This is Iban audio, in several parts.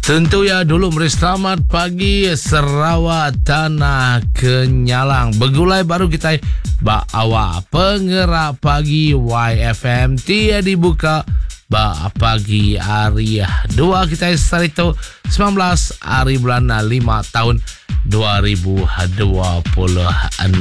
Tentu ya dulu meri selamat pagi Sarawak Tanah Kenyalang. Begulai baru kita ba awak pengerak pagi YFM ti dibuka ba pagi hari dua kita sehari tu 19 hari bulan 5 tahun 2026.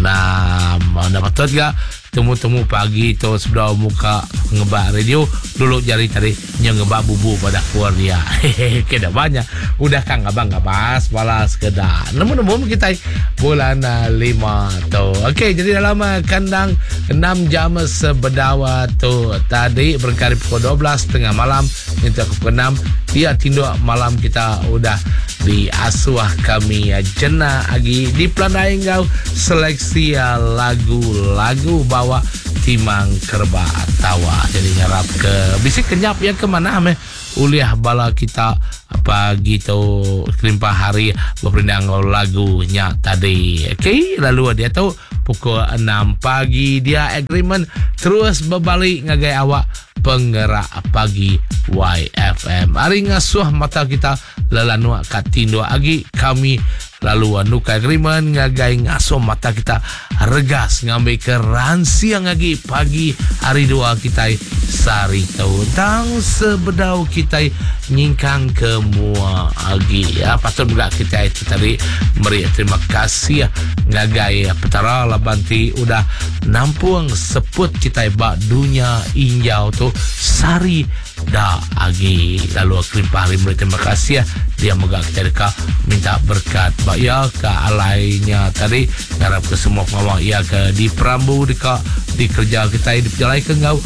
Dah patut ga Temu-temu pagi tu sebedau muka ngebak radio dulu jari tadi nya ngebak bubu ba dapur dia. Hehehe ke dah ba nya udah ka ngabang ngabas bala sekeda. Nemu-nemu meh kitai bulan lima tu. Okey jadi dalam kandang enam jam sebedau tu tadi berengkah ari pukul 12 tengah malam nyentuk ke pukul enam dia tinduk malam kita udah diasuh kami jena agi dipelandai enggau seleksi lagu-lagu bawa timang kereba tawa. Jadi ngarap ke bisi kenyap iya ke manah meh ulih bala kita pagi tu kelimpah hari beperindang enggau lagu nya tadi. Okey lalu diatu pukul enam pagi dia agreement terus bebali ngagai awak Pengerak Pagi YFM. Ari ngasuh mata kita lelanuk ka tinduk agi kami lalu nukar agreement ngagai ngasuh mata kita regas ngambika ransing agi pagi hari dua kitai sehari tu. Tang sebedau kitai nyingkang ke mua agi ya patut mega kitai tu tadi meri terima kasih ngagai Petara laban ti udah nampung seput kitai ba dunya injau tu sehari da agi. Lalu kelimpah ari meri terima kasih dia mega kitai deka minta berkat ba iya ke alai nya tadi ngarap ke semua pengawa iya ke diperambu deka dikereja kitai dipejalaika enggau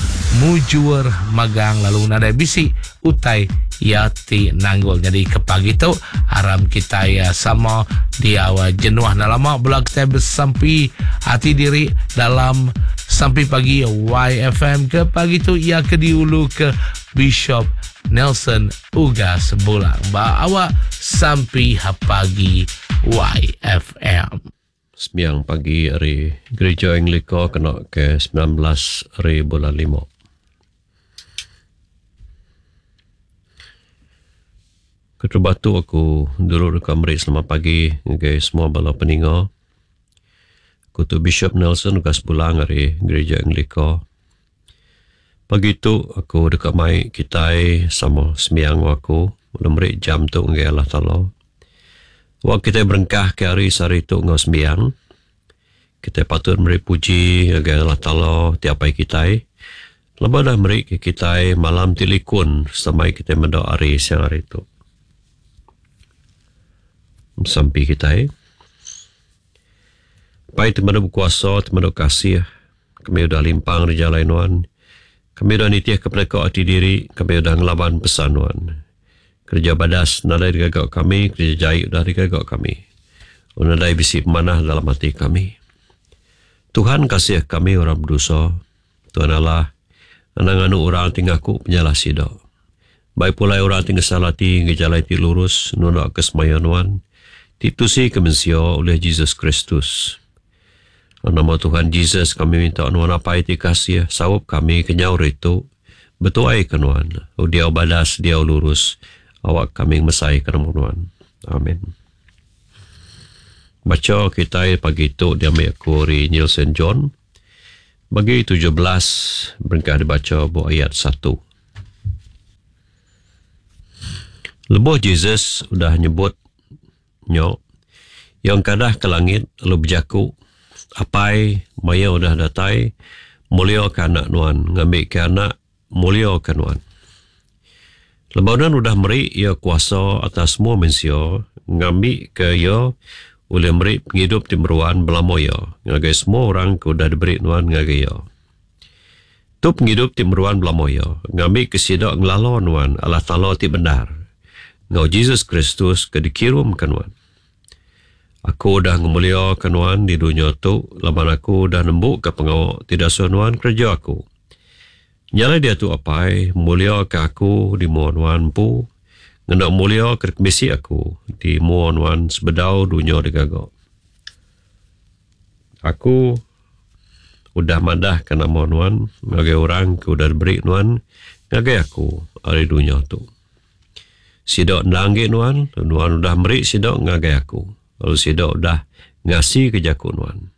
mujur magang lalu nadai bisi utai iya ti nanggul. Nyadi ke pagi tu aram kitai sama diau jenuh enda lama bela kitai besampi ati diri dalam sampi pagi YFM ke pagi tu iya ke diulu ke Bishop Nelson Ugas Bulang ba awak sampi pagi YFM. Sembiang pagi ari Gerija Anglika kena ke 19 ari bulan lima. Keterubah tu aku dulu deka meri selamat pagi ngagai semua bala peninga. Aku tu Bishop Nelson Ugas Bulang ari Gerija Anglika. Pagi tu aku deka mai kitai sama sembiang enggau aku lalu meri jam tu ngagai Allah Taala. Wak kitai berengkah ke hari sehari tu enggau sembiang, kitai patut meri puji ngagai Allah Taala ti apai kitai laban udah meri ke kitai malam ti likun sereta mai kitai meda hari siang hari tu. Sampi kitai. Pai ti meda bekuasa ti meda kasih. Kami udah limpang ari jalai Nuan. Kami udah nitihka peneka ati diri. Kami udah ngelaban pesan Nuan. Kereja badas nadai digaga kami, kereja jai udah digaga kami. Lalu nadai bisi pemanah dalam ati kami. Tuhan kasih kami orang bedosa. Tuhan Allah, anang nganu orang ti ngaku penyalah sida. Bai pulai orang ti ngesal ati ngagai jalai ti lurus nundaka semaya Nuan, ti tusika mensia ulih Jesus Kristus. Dalam nama Tuhan Jesus kami minta nuan Apai ti kasih saup kami kenyau ri tu betuai ke nuan lalu diau badas diau lurus awak kami ngemesai ke nama nuan. Amen. Bacha kitai pagi tu diambi aku ari Injil Saint John bagi 17 berengkah dibacha ba ayat satu. Lebuh Jesus udah nyebut Nya, iya engkadah ke langit lalu bejaku, Apai, maya udah datai, muliaka Anak Nuan, ngambika Anak muliaka Nuan. Lebuh Nuan udah meri iya kuasa atas semua mensia, ngambika iya ulih meri pengidup ti meruan belama iya ngagai semua orang ke udah diberi Nuan ngagai iya. Tu pengidup ti meruan belama iya, ngambika sida ngelala Nuan Allah Taala ti bendar, enggau Jesus Kristus ke dikirumka Nuan. Aku udah ngemuliaka Nuan di dunya tu laban aku udah nembuka pengawa ti dasuh Nuan kereja aku. Nya alai diatu Apai, muliaka aku di mua Nuan empu, ngena mulia ke dikemisi aku di mua Nuan sebedau dunya digaga. Aku udah madahka nama Nuan ngagai orang ke udah diberi Nuan ngagai aku ari dunya tu. Sida endang enggi Nuan, lalu Nuan udah meri sida ngagai aku, lalu sida udah ngasika jaku Nuan.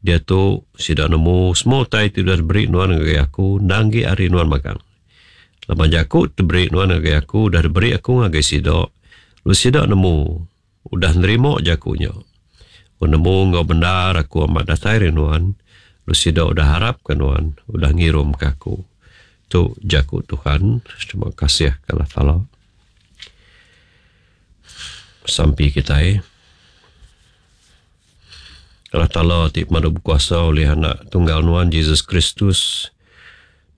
Diatu, sida nemu semua utai ti udah diberi Nuan ngagai aku endang enggi ari Nuan magang. Laban jaku ti diberi Nuan ngagai aku udah diberi aku ngagai sida, lalu sida nemu udah nerima jaku nya. Aku nemu enggau bendar aku amat datai ari Nuan, lalu sida udah arapka Nuan udah ngirumka aku. Tu jaku Tuhan. Terima kasih ke Allah Taala. Sampi kitai. Allah Taala ti pemadu bekuasa ulih Anak Tunggal Nuan Jesus Kristus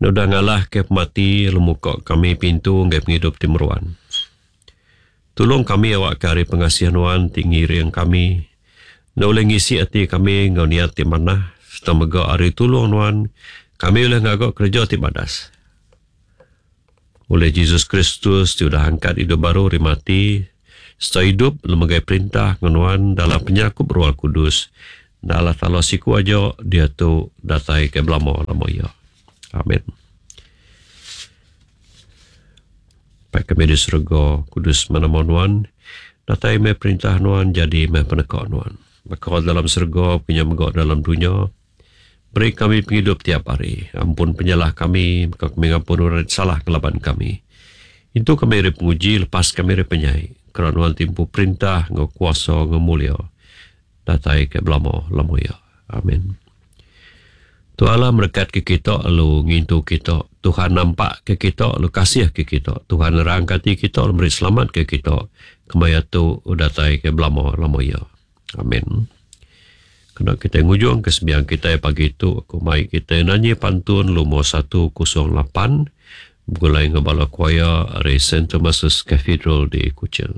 udah ngalahka pemati lalu muka kami pintu ngagai pengidup ti meruan. Tulung kami awakka ari pengasih Nuan ti ngiring kami, enda ulih ngisi ati kami enggau niat ti manah sereta mega ari tulung Nuan, kami ulih ngaga kereja ti badas. Ulih Jesus Kristus ti udah angkat idup baru ari mati sereta idup lalu megai perintah enggau Nuan dalam penyerakup Roh Kudus, enda Allah Taala siku aja diatu datai ke belama-lama iya. Amin. Pai kami di serega, kudus meh nama Nuan, datai meh perintah Nuan, jadi meh peneka Nuan. Baka dalam serega, baka nya mega dalam dunya. Beri kami pengidup tiap hari. Ampun penyalah kami, baka kami ngampun orang ti salah ngelaban kami. Intu kami ari penguji, lepas kami ari penyai. Kera Nuan ti empu perintah enggau kuasa enggau mulia datai ke belama-lama iya. Amin. Tuhan Allah merekat ke kita lalu ngintu kita. Tuhan nampak ke kita lalu kasih ke kita. Tuhan nerangka ati kita lalu meri selamat ke kita. Kemaya tu datai ke belama-lama iya. Amin. Kena kita ngujung ke sembiang kita pagi tu aku mai kita nanyi pantun lumur 108 begulai enggau bala choir ari Saint Thomas's Cathedral di Kuching.